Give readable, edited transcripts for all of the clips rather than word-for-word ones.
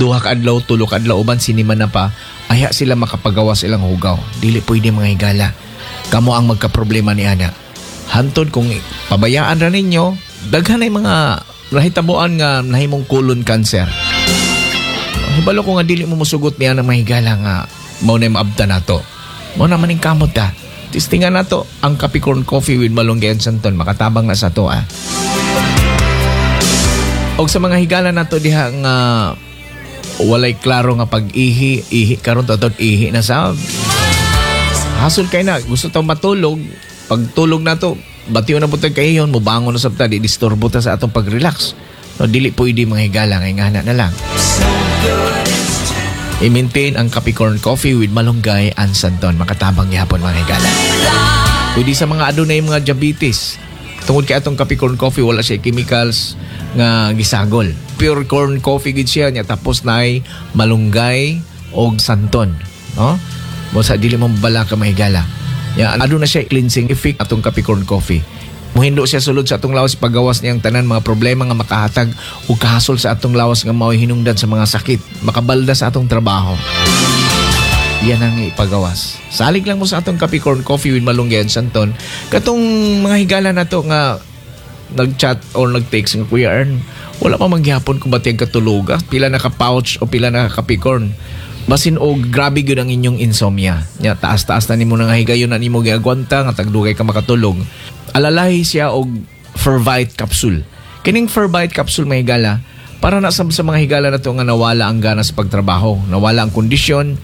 2 ka adlaw, 3 ka adlaw, uban sinima na pa, aya sila makapagawas ilang hugaw. Dili pwede, mga higala. Kamo ang magkaproblema ni ana. Hantod kung pabayaan ra ninyo, daghan ay mga nahitabuan nga nahimong colon cancer. Hibalo ko nga dili mo musugot niya ng mga higala nga mao na maabta nato. Mao na maning kamot ta. Testingan nato ang Capricorn Coffee with Malunggay and Santon. Makatabang na sa to ah. Og sa mga higala nato diha nga walay klaro nga pag-ihi, ihi karon tatod ihi na sa hasol kay na gusto tong matulog, pagtulog nato batiyo na butag kahiyon, mobangon na sab ta, di disturbo ta sa atong pag-relax. No, dili pwede, mga higala, nga ingana na lang. I-maintain ang Capricorn Coffee with Malunggay and Santon. Makatabang gihapon, mga higala. Pwede sa mga adunay mga diabetes. Tungod kay atong Capricorn Coffee wala siya chemicals nga gisagol. Pure corn coffee gid siya nya, tapos naay malunggay og santon, no? Mo sa dili mo bala ka, mahigala. Ya, aduna siya cleansing effect atong Capricorn Coffee. Muhindo siya sulod sa atong lawas, pagawas niyang tanan mga problema nga makahatag og kahasol sa atong lawas nga mao'y hinungdan sa mga sakit, makabalda sa atong trabaho. Yan ang ipagawas. Salig lang mo sa atong Capricorn Coffee with Malunggay and Santon. Katong mga higala na to nga nag-chat or nag-text nga, "Kuya Ern, wala pa mangyapon kung ba't yung katuluga. Pila na ka-pouch o pila na ka-Capricorn." Basin og grabe gyud ang inyong insomnia. Ya, taas-taas na nimo nga higayon na nimo giagwanta nga tagdugay ka makatulog. Alalahi siya og Fervite capsule. Kining Fervite capsule, mga higala, para na sa mga higala na to nga nawala ang gana sa pagtrabaho, nawala ang kondisyon,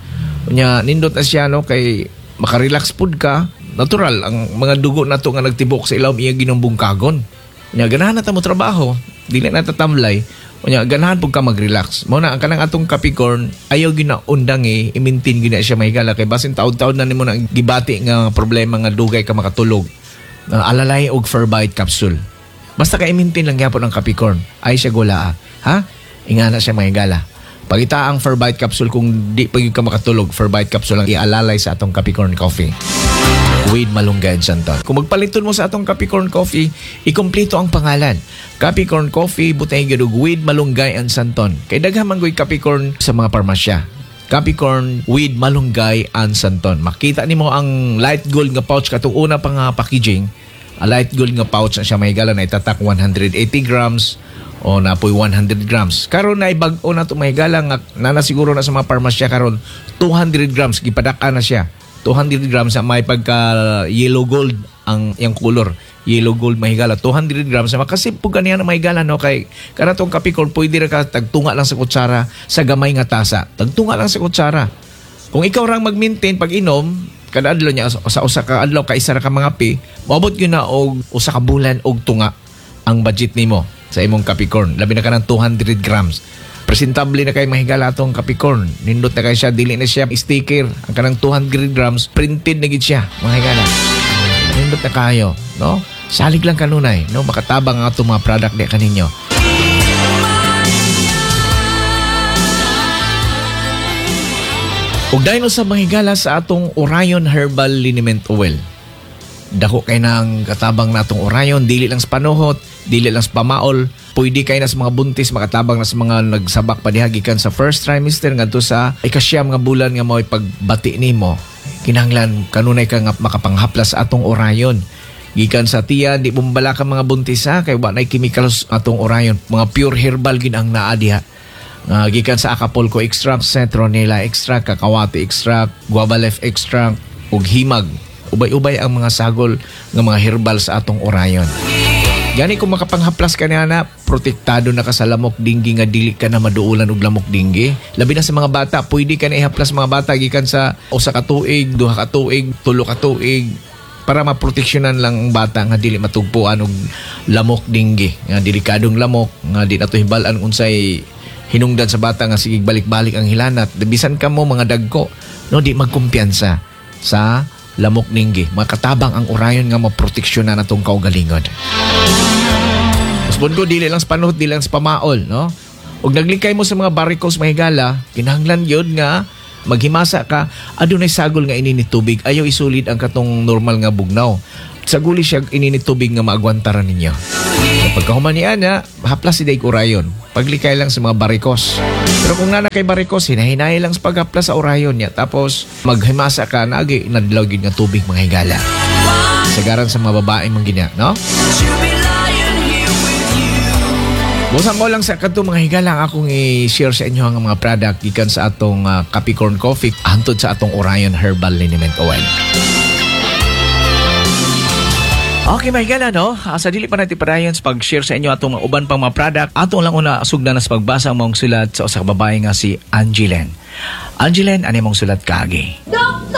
nya nindot na siya, no, kay makarelax pud ka, natural ang mga dugo nato nga nagtibok sa ilawom iya ginumbungkagon. Nya ganahan na ta mo trabaho, dili na ta tamlay. Unya ganahan pud ka mag-relax. Mo na ang kanang atong Capricorn, ayaw gina undangi, i-maintain gina siya, mahigala, kay basin taod-taod na nimo na gibati nga problema nga dugay ka makatulog. Alalay og Fervite capsule. Basta ka i-maintain lang gyapon ang Capricorn. Ay siya gula ah. Ha? Ingana siya, mahigala. Pagita ang Fervite capsule kung di pa gyud ka makatulog, Fervite capsule ang ialalay sa atong Capricorn Coffee with Malunggay and Santon. Kung magpaliton mo sa atong Capricorn Coffee, ikumpleto ang pangalan. Capricorn Coffee, butay gyud og with Malunggay and Santon. Kay daghan man goy Capricorn sa mga parmasya. Capricorn with Malunggay and Santon. Makita nimo ang light gold nga pouch katong una pa nga packaging. A light gold nga pouch na siya, mahigala, na itatak 180 grams o napoy 100 grams. Karon na ibag-o na to, mahigala, nga nana siguro na sa mga parmasya karon 200 grams, gipadaka na siya. 200 grams sa may pagka yellow gold ang iyang color. Yellow gold, mahigala, 200 grams makasip po ganiya na, mahigala, no, kay kanatong Capricorn pwede ra ka tagtunga lang sa kutsara sa gamay nga tasa. Tagtunga lang sa kutsara. Kung ikaw rang mag-maintain pag inom kada adlaw niya sa 1 ka adlaw kaisa ra ka mga pi, moabot gyud na og 1 ka bulan og tunga ang budget nimo sa imong Capricorn. Labi na ka ng 200 grams. Presentable na kay, mahigala, atong Capricorn. Nindot na kay siya, dili na siya sticker. Ang kanang 200 grams, printed na gid siya, mga higala. Nindot na kayo, no? Salig lang kanunay, no? Makatabang ang atong mga product di kaninyo. Ug dayon sa mga higala sa atong Orion Herbal Liniment Oil. Dako kay nang katabang natong Orion, dili lang sa panuhot, dili lang sa pamaol, pwede kay na sa mga buntis, makatabang na sa mga nagsabak pa diha gikan sa first trimester ngadto sa 9 nga bulan nga mao'y pagbati nimo. Kinahanglan kanunay ka nga makapanghaplas sa atong Orion. Gikan sa tiyan, di bumbala ka mga buntis ha, kay wa nay chemicals atong Orion. Mga pure herbal gid ang naa diha. Gikan sa Acapulco extract, citronella extract, kakawati extract, guava leaf extract, ug himag. Ubay-ubay ang mga sagol nga mga herbal sa atong Orion. Gani kung makapanghaplas ka niya na, protektado na ka sa lamok dinggi nga dili ka na maduulan og lamok dinggi. Labi na sa mga bata, pwede ka na ihaplas mga bata gikan sa 1 ka tuig, 2 ka tuig, 3 ka tuig, para maproteksyonan lang ang bata nga dili matugpuan og lamok dinggi nga delikadong lamok nga di nato hibal-an unsay hinungdan sa bata nga sige balik-balik ang hilanat. Bisan ka mo mga dagko, no, di magkumpiyansa sa lamok dinggi. Makatabang ang Orion nga maproteksyonan atong kaugalingon. Usbon ko, dili lang sa panuhot, dili lang sa pamaol, no? Ug naglikay mo sa mga varicose, mahigala, kinahanglan yun nga maghimasa ka, adunay sagol nga ininit tubig, ayaw isulid ang katong normal nga bugnaw. Saguli siya ininit tubig nga maagwantara ninyo. Pagkahuman ni ana, haplas si Day Orion. Paglikay lang sa mga varicose. Pero kung naa na kay varicose, hinahinay lang sa paghaplas sa Orion niya. Tapos maghimasa ka, nagi nadlaw gyud nga tubig, mga higala. Sagaran sa mga babae man gina, no? Busan mo lang sa kadto, mga higala, ang akong i-share sa inyo ang mga product gikan sa atong Capricorn Coffee hantod sa atong Orion Herbal Liniment Oil. Okay, mga higala, no? Sa dili pa natin padayon sa pag-share sa inyo atong mga uban pang mga product, ato lang una sugdan na sa pagbasa ang maong sulat sa usa ka babae nga si Angeline. Angeline, ano mong sulat kaagi? Doktor!